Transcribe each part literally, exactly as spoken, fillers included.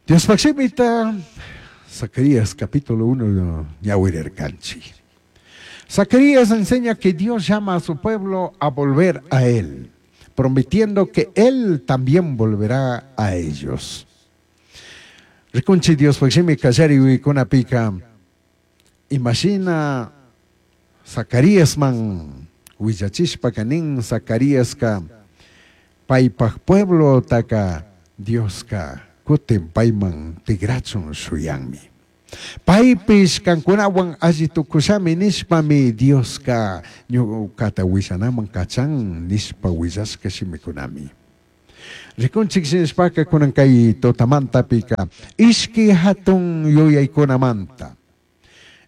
Diospaj shimita, Zacarías capítulo uno, ñawirirkanchik. Zacarías enseña que Dios llama a su pueblo a volver a él, prometiendo que él también volverá a ellos. Rikunchik Diospaj shimi kallari uykunapika, imashina Zacaríasman willachishpaka nin Zacaríaska paypaj pueblotaka Dioska kutin payman tigrachun shuyanmi. Paypish kankunawan alli tukushami nishpami Dioska ñukata willanaman kachan nishpa willashka shimikunami. Rikunchik shinashpaka kunan kay tutamantapika ishki hatun yuyaykunamanta.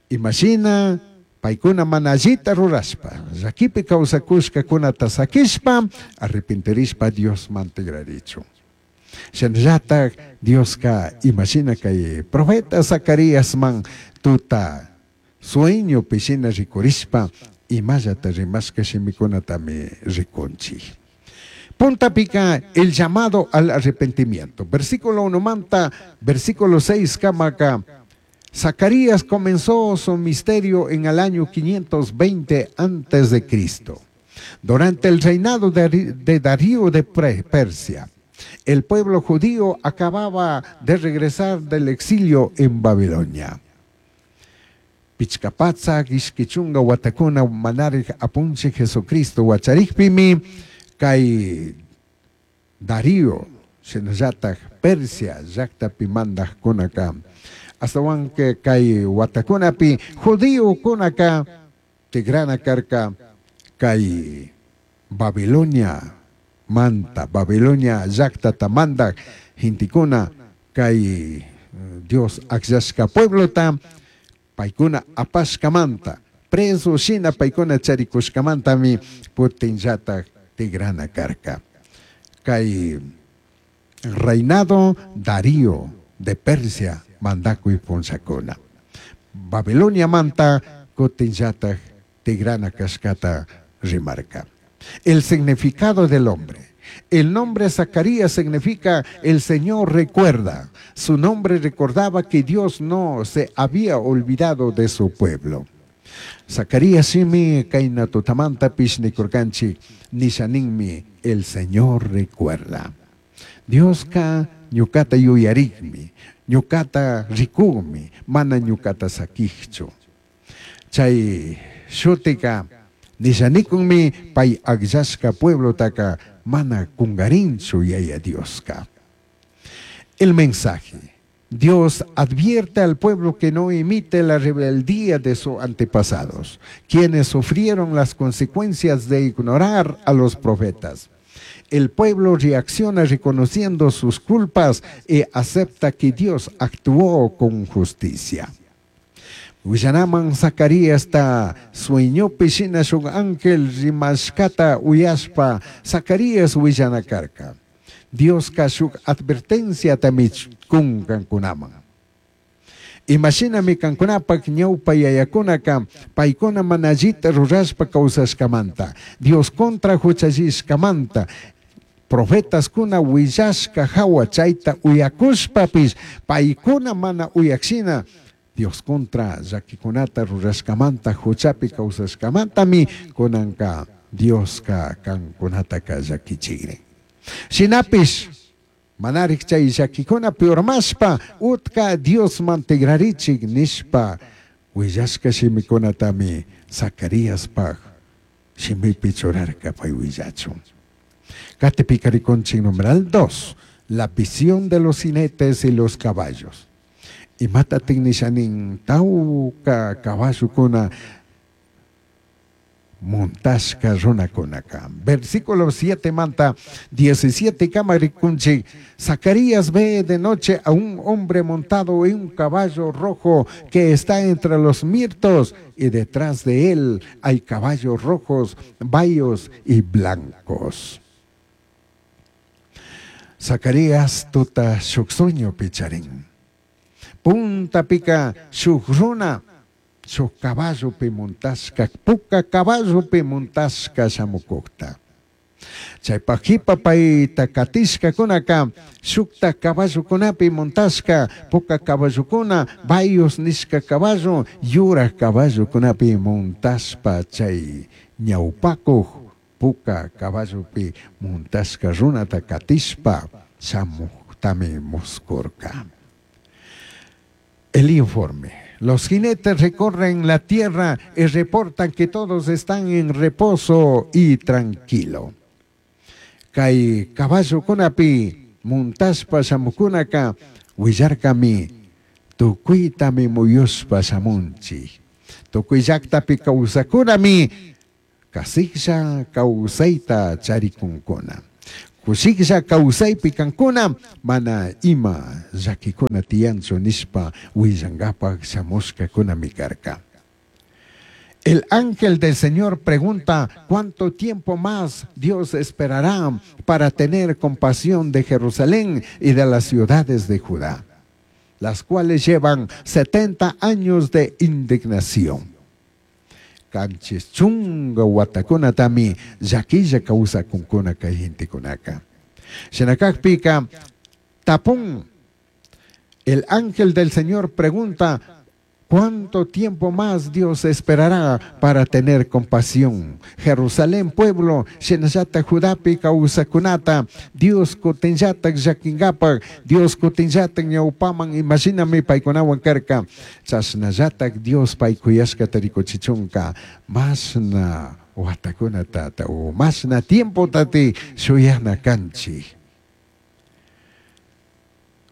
Imashina paykuna mana allita rurashpa, llakipi kawsakushkakunata sakishpa, arrepentirishpa Diosman tigrarichun. Shinallatak Dioska imashina kay profeta Zacaríasman tuta sueñopi shina rikurishpa imallata rimashka shimikunatami rikunchik. Puntapika el llamado al arrepentimiento. Versículo uno manta, versículo seis kamaka. Zacarías comenzó su misterio en el año quinientos veinte antes de Cristo, durante el reinado de, de Darío de Pre-, Persia. El pueblo judío acababa de regresar del exilio en Babilonia. Pichcapatza, ishquichunga, watakuna, manarij, apunche, Jesucristo, huacharikpimi, kay Darío, shinallataj Persia, llaktapi mandajkunaka. Astawanke kay watakunapi, judío kunaka, tigrana karka, kay Babilonia manta, Babilonia llaktata mandak, gentikuna, kay Dios akllashka pueblota, paykuna apashkamanta, preso shina paykuna charikushkamantami, putinllataj tigrana karka. Kay reinado Darío de Persia mandakuy punllakuna. Babilonia manta kutinllataj tigrana kashkata rimarka. El significado del hombre. El nombre Zacarías significa el Señor recuerda. Su nombre recordaba que Dios no se había olvidado de su pueblo. Zacarías simi kaina tutamanta pishni kurkanchi nishaninmi el Señor recuerda. Dioska ñukata yuyarikmi, ñukata rikumi, mana ñukata sakichu. Chay shutika nishanikunmi pay akllashka pueblotaka mana kungarinchu yaya Dioska. El mensaje. Dios advierte al pueblo que no imite la rebeldía de sus antepasados, quienes sufrieron las consecuencias de ignorar a los profetas. El pueblo reacciona reconociendo sus culpas y acepta que Dios actuó con justicia. Willanaman Zacarías ta sueñopi shina shuk ángel rimashkata uyashpa Zacarías willanakarka. Dios ka shuk advertencia tamich kun kankunaman. Imashinami kankunapak ñawpa yayakunaka paykuna mana allita rurashpa kawsashkamanta, Dios contra huchallishkamanta, profetas kuna willashka hawa chayta uyakushpapis paykuna mana uyakshina Dios contra llakikunata rurashkamanta huchapi kawsashkamantami kunanka Dioska kankunataka llakichikrin. Shinapish manarik chay llakikuna piormashpa utka Diosman tigrarichik nishpa willashka shimikunatami Zacaríaspaj shimipi churarka pay willachun. Katipika rikunchik numeral dos, la visión de los jinetes y los caballos. Imata tiknishanin tawka caballukuna montashka runakunaka. Versículo siete manta diecisiete kamarikunchik. Zacarías ve de noche a un hombre montado en un caballo rojo que está entre los mirtos y detrás de él hay caballos rojos, bayos y blancos. Zacarías tuta shuk sueño picharín. Punta pica shuk runa, shuk caballo pi montashka, puka caballo pi montashka shamukukta. Chaypaj qipa payta katishkakunaka shukta caballokunapi montashka, puka caballokuna, bayos nishka caballo, yuraj caballokunapi montashpa chay ñawpakuq puka caballopi montashka runata katishpa shamuqtami muskurka. El informe. Los jinetes recorren la tierra y reportan que todos están en reposo y tranquilo. Kay caballokunapi montashpa shamukunaka willarkami tukuytami muyushpa shamunchik. Tukuy llaqtapi kawsakunami kasiklla kawsayta charikunkuna. Kushiklla kawsaypi kankuna mana ima llakikuna tiyanchu nishpa willankapaq shamushkakunami karka. El ángel del Señor pregunta cuánto tiempo más Dios esperará para tener compasión de Jerusalén y de las ciudades de Judá, las cuales llevan setenta años de indignación. Kanchis chunga watakunatami llaquilla kawsakunkuna kay gentekunaka. Shinakakpika tapun. El ángel del Señor pregunta ¿cuánto tiempo más Dios esperará para tener compasión? Jerusalén pueblo, shinallata Judapi kawsakunata, Dios kutinllata llakingapak, Dios kutinllata ñawpaman, imaginami paykunawan karka, chashnallata Dios paykuyashkata rikuchichunka, mashna watakunata o mashna tiempo tati shuyana kanchik.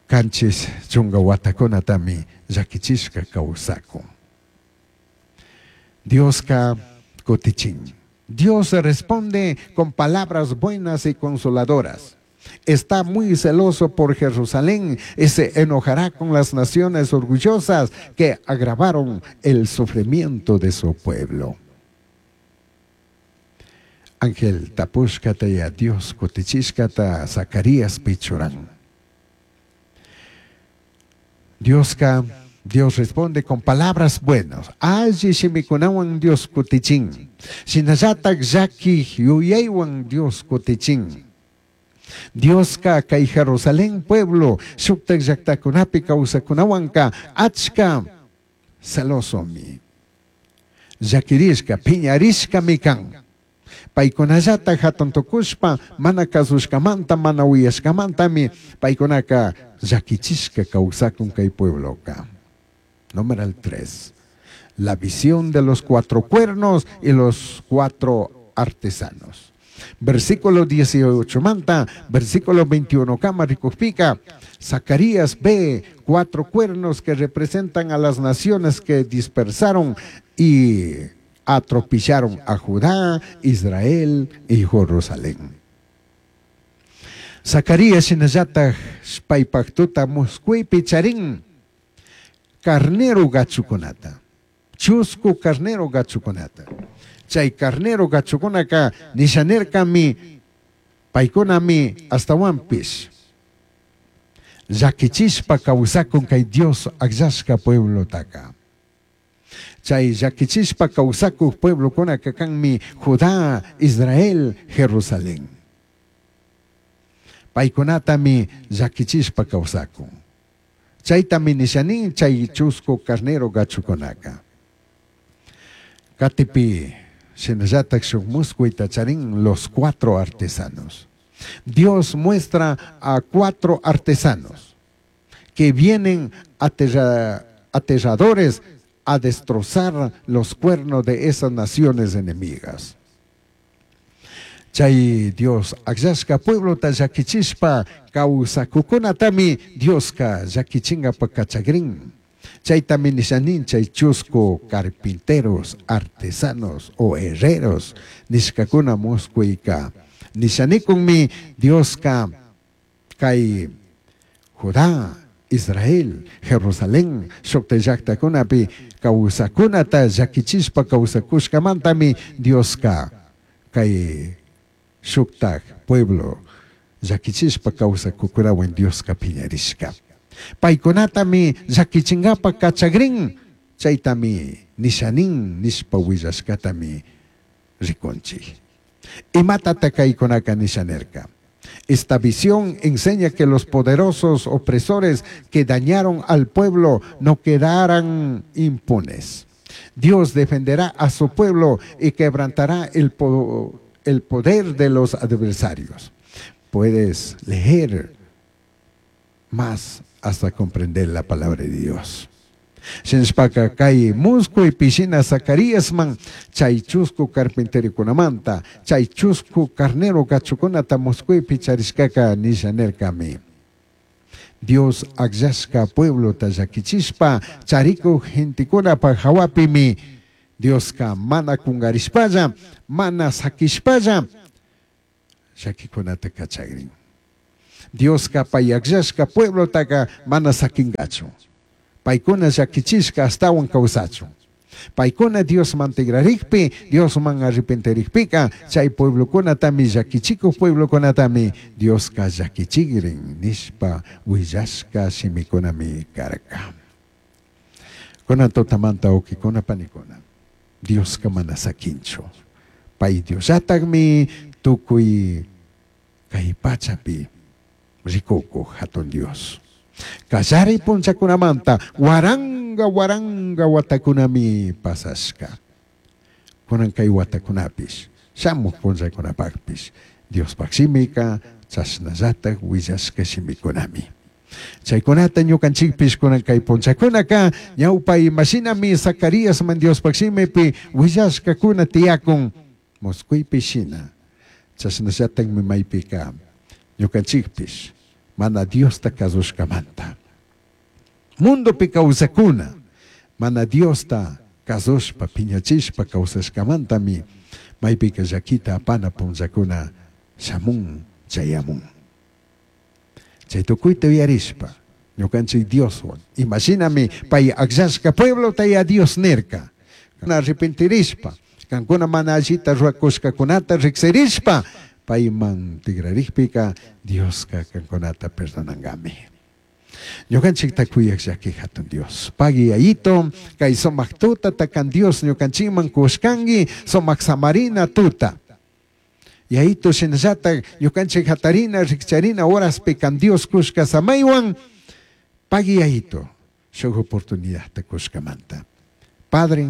Kanchis chunga watakunatami llakichishka kawsakun. Dioska kutichin. Dios responde con palabras buenas y consoladoras. Está muy celoso por Jerusalén y se enojará con las naciones orgullosas que agravaron el sufrimiento de su pueblo. Ángel tapushkata ya Dios kutichishkata Zacarías pichuran. Dioska, Dios responde con palabras buenas. Alli shimikunawan Dios kutichin. Shinallatak llaki yuyaywan Dios kutichin. Dioska kay Jerusalén pueblo shuktak llaktakunapi kawsakunawanka achka celosomi. Llakirishka, piñarishkami kan. Paykunallata hatun tukushpa mana kasushkamanta mana uyashkamantami paykunaka llakichishka kawsakun kay puebloka. Número tres. La visión de los cuatro cuernos y los cuatro artesanos. Versículo dieciocho manta, versículo veintiuno kama rikukpika, Zacarías ve cuatro cuernos que representan a las naciones que dispersaron y atropellaron a Judá, Israel y Jerusalén. Zacarías shinallata paypaktuta musquypi charin carnero gachukunata, chusku carnero gachukunata. Chay carnero gachukunaka nishanerkami paykunami astawanpish llakichishpa kawsakun kay Dios akllashka pueblotaka. Chay llakichishpa kawsakuq pueblokunaka kanmi Judá, Israel, Jerusalén. Paykunatami llakichishpa kawsakun. Chaytami nishanin chay chusku carnero gachukunaka. Katipi shinallatak shuk musquyta charin los cuatro artesanos. Dios muestra a cuatro artesanos que vienen aterra, aterradores a destrozar los cuernos de esas naciones enemigas. Chay Dios akllashka pueblota llakichishpa kawsakukunatami Dioska llakichinkapa kachakrin. Chaytami nishanin chay chusku carpinteros, artesanos o herreros nishkakuna musquyka. Nishanikunmi Dioska kay Judá, Israel, Jerusalén, shukta llaqtakunapi kawsakunata llakichishpa kawsakushkamantami Dioska kay shuktak pueblo llakichishpa kawsakukunawan Dioska piñarishka. Paykunatami llakichinkapa kachakrin, chaytami nishanin nishpa willashkatami rikunchik. Imatata kaykunaka nisha nirka. Esta visión enseña que los poderosos opresores que dañaron al pueblo no quedarán impunes. Dios defenderá a su pueblo y quebrantará el, po el poder de los adversarios. Puedes leer más hasta comprender la palabra de Dios. Shinashpaka kay muscuipi shina Zacaríasman chay chusku carpinterokunamanta chay chusku carnero gachukunata muscuipi charishkaka nisha nirkami. Dios akllashka pueblota llakichishpa charikuk gentekunapaj hawapimi Dioska mana kungarishpalla mana sakishpalla llakikunata kachagrin. Dioska pay akllashka pueblotaka mana sakingachu. Paykuna llakichishka astawan kawsachun. Paykuna Diosman tigrarikpi, Diosman arrepentirikpika, chay pueblokunatami llakichikuk pueblokunatami Dioska llakichigrin nishpa willashka shimikunami karka. Kunan tutamanta wawqikuna panikuna, Dioska mana sakinchu. Pay Diosllatakmi tukuy kay pachapi rikukuk hatun Dios. Kallari punchakunamanta waranga waranga watakunami pasashka. Kunan kay watakunapish, shamuq punchakunapaqpish, Diospaq shimika chashnallatak willashka shimikunami. Chaykunata ñukanchikpish kunan kay punchakunaka ñawpa imashinami Zacaríasman Diospaq shimipi willashkakuna tiyakun musquypi shina. Chashnallatakmi maypika ñukanchikpish mana Diosta kasushkamanta. Mundopi kawsakuna mana Diosta kasushpa piñachishpa kawsashkamantami maypika llakita apana punchakuna shamun chayamun. Chay tukuyta uyarishpa ñukanchik Dioswan imashinami pay akllashka pueblota ya Dios nirka. Arrepentirishpa kankuna mana allita rurakushkakunata riksirishpa payman tigrarikpika Dioska kankunata perdonangami. Ñukanchikta kuyaq llaki hatun Dios. Pagui ayito kay sumaq tuta takan Dios ñukanchikman kushkanki sumaq samarina tuta. Yayito shinallatak ñukanchik hatarina rikcharina horaspi kan Dios kushka samaywan pagui ayito shuk oportunidadta kushkamanta. Padre,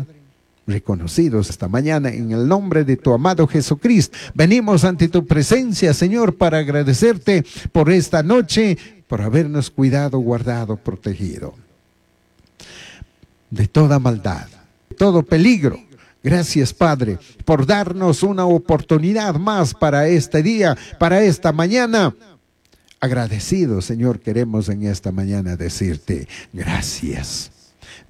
reconocidos esta mañana en el nombre de tu amado Jesucristo, venimos ante tu presencia, Señor, para agradecerte por esta noche, por habernos cuidado, guardado, protegido de toda maldad, de todo peligro. Gracias, Padre, por darnos una oportunidad más para este día, para esta mañana. Agradecido, Señor, queremos en esta mañana decirte gracias.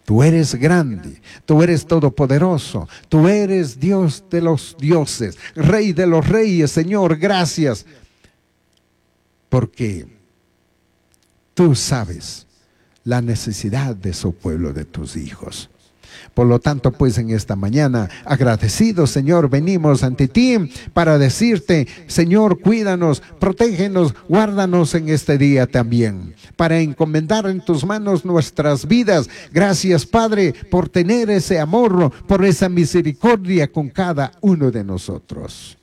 Tú eres grande, tú eres todopoderoso, tú eres Dios de los dioses, Rey de los reyes, Señor, gracias. Porque tú sabes la necesidad de su pueblo, de tus hijos. Por lo tanto, pues en esta mañana, agradecidos, Señor, venimos ante ti para decirte, Señor, cuídanos, protégenos, guárdanos en este día también, para encomendar en tus manos nuestras vidas. Gracias, Padre, por tener ese amor, por esa misericordia con cada uno de nosotros.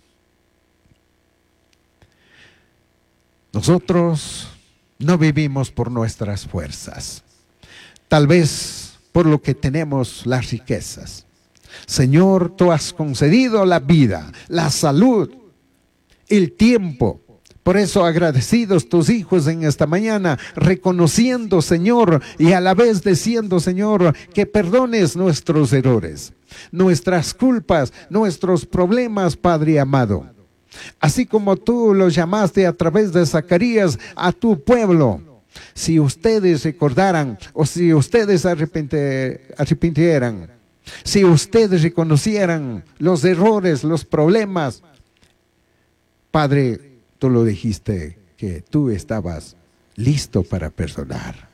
Nosotros no vivimos por nuestras fuerzas, tal vez por lo que tenemos las riquezas. Señor, tú has concedido la vida, la salud, el tiempo. Por eso agradecidos tus hijos en esta mañana, reconociendo, Señor, y a la vez diciendo, Señor, que perdones nuestros errores, nuestras culpas, nuestros problemas, Padre amado. Así como tú lo llamaste a través de Zacarías a tu pueblo. Si ustedes recordaran o si ustedes arrepintieran, si ustedes reconocieran los errores, los problemas, Padre, tú lo dijiste que tú estabas listo para perdonar.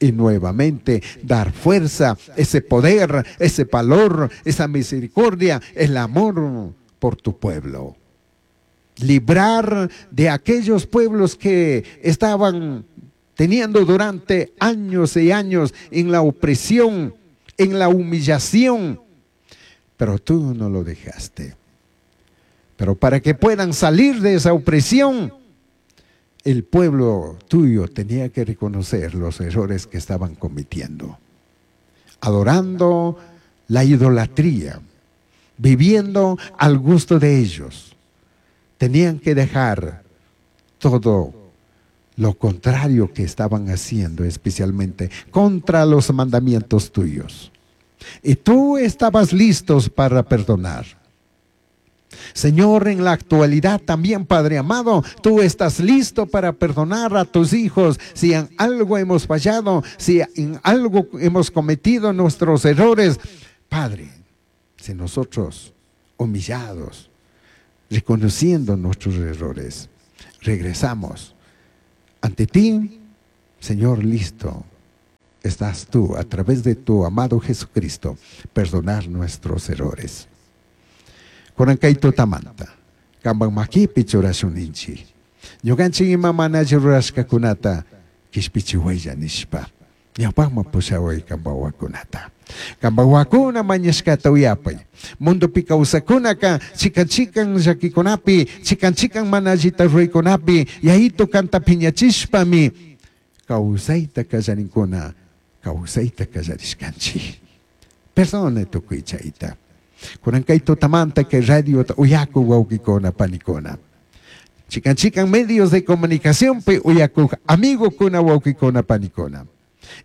Y nuevamente dar fuerza, ese poder, ese valor, esa misericordia, el amor por tu pueblo. Librar de aquellos pueblos que estaban teniendo durante años y años en la opresión, en la humillación. Pero tú no lo dejaste. Pero para que puedan salir de esa opresión, el pueblo tuyo tenía que reconocer los errores que estaban cometiendo, adorando la idolatría, viviendo al gusto de ellos. Tenían que dejar todo lo contrario que estaban haciendo, especialmente contra los mandamientos tuyos. Y tú estabas listos para perdonar. Señor, en la actualidad también, Padre amado, tú estás listo para perdonar a tus hijos si en algo hemos fallado, si en algo hemos cometido nuestros errores. Padre, si nosotros, humillados, reconociendo nuestros errores, regresamos ante ti, Señor, listo estás tú, a través de tu amado Jesucristo, perdonar nuestros errores. Kunan kay tutamanta, kampak makipi churashun ninchik. Ñukanchik ima mana alli rurashkakunata kishpichiwaylla nishpa. Ñawpakman pushaway kampak wawakunata. Kampak wawakuna mañashkata uyapay. Mundopi kawsakunaka chikan chikan llakikunapi, chikan chikan mana allita ruraykunapi, Yayito kanta piñachishpami kawsayta kallarinkuna, kawsayta kallarishkanchik. Perdone tukuy chayta. Kunan kay tutamanta kay radiota uyakuk wawkikuna panikuna. Chikan chikan medios de comunicación pi uyakuk amigokuna wawkikuna panikuna.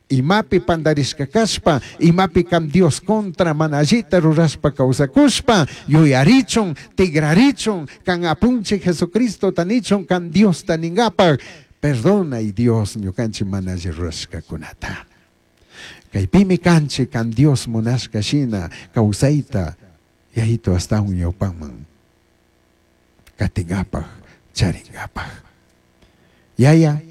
Imapi pandarishka kashpa, imapi kam Dios contra mana allita rurashpa kawsakushpa, yuyarichun, tigrarichun, kan apunchik Jesucristo tanichun, kan Dios taningapak, perdona y Dios ñukanchik mana alli rurashkakunata. Kaypimi kanchik kan Dios munashka shina kawsayta Yayito astawan ñawpaman katingapak, charingapak. Yaya,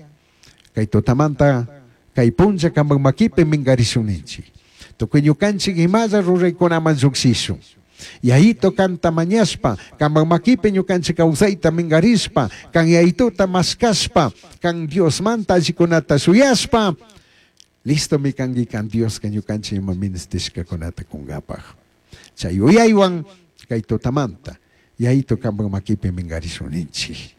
kay tutamanta, kay punlla kampak makipi minkarishun ninchik. Tukuy ñukanchik imalla ruraykunaman llukshishun. Yayito kanta mañashpa, kampak makipi ñukanchik kawsayta minkarishpa, kan Yayituta mashkashpa, kan Diosmanta allikunata shuyashpa, listo mi kanki kan Dios ka ñukanchik ima ministishkakunata kunkapak. Chay uyaywan kay tutamanta, Yayito kampak makipi minkarishun ninchik.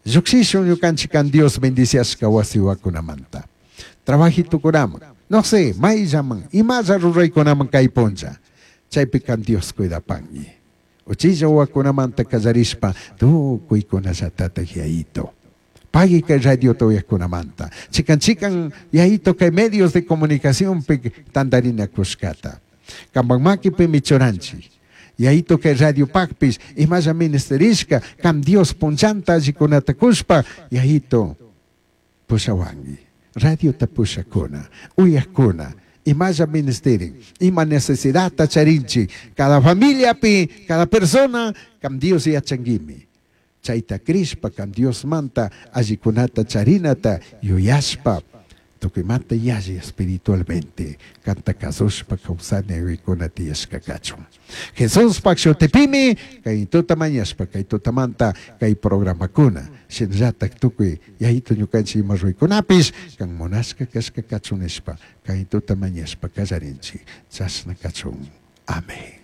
Llukshishun ñukanchik kan Dios bendiciashka wasiwakunamanta. Trabajitukunaman, no sé, mayllaman, imalla ruraykunaman kay punlla. Chaypi kan Dios cuidapangi. Uchilla wawakunamanta kallarishpa tukuykunallatatak Yayito. Pagui kay radio uyakkunamanta. Chikan chikan Yayito kay medios de comunicación pi tantarinakushkata. Kampak makipimi churanchik. Yayito kay radio pakpish imalla ministerishka kam Dios punllanta allikunata kushpa Yayito pushawanki. Radiota pushakuna, uyakuna, imalla ministerin, ima necesidadta charinchik, cada familiapi, cada persona, kam Dios yachanguimi. Chayta crishpa, kam Dios manta, allikunata charinata, yuyashpa, tukuymanta yalli espiritualmente, kanta kasushpa kawsani rikuna tiyashka kachun. Jesuspak shutipimi, kay tuta mañashpa, kay tutamanta, kay programakuna, shinallatak tukuy Yayito ñukanchik ima ruraykunapish, kan munashka kashka kachun nishpa, kay tuta mañashpa kallarinchik, chashna kachun. Amén.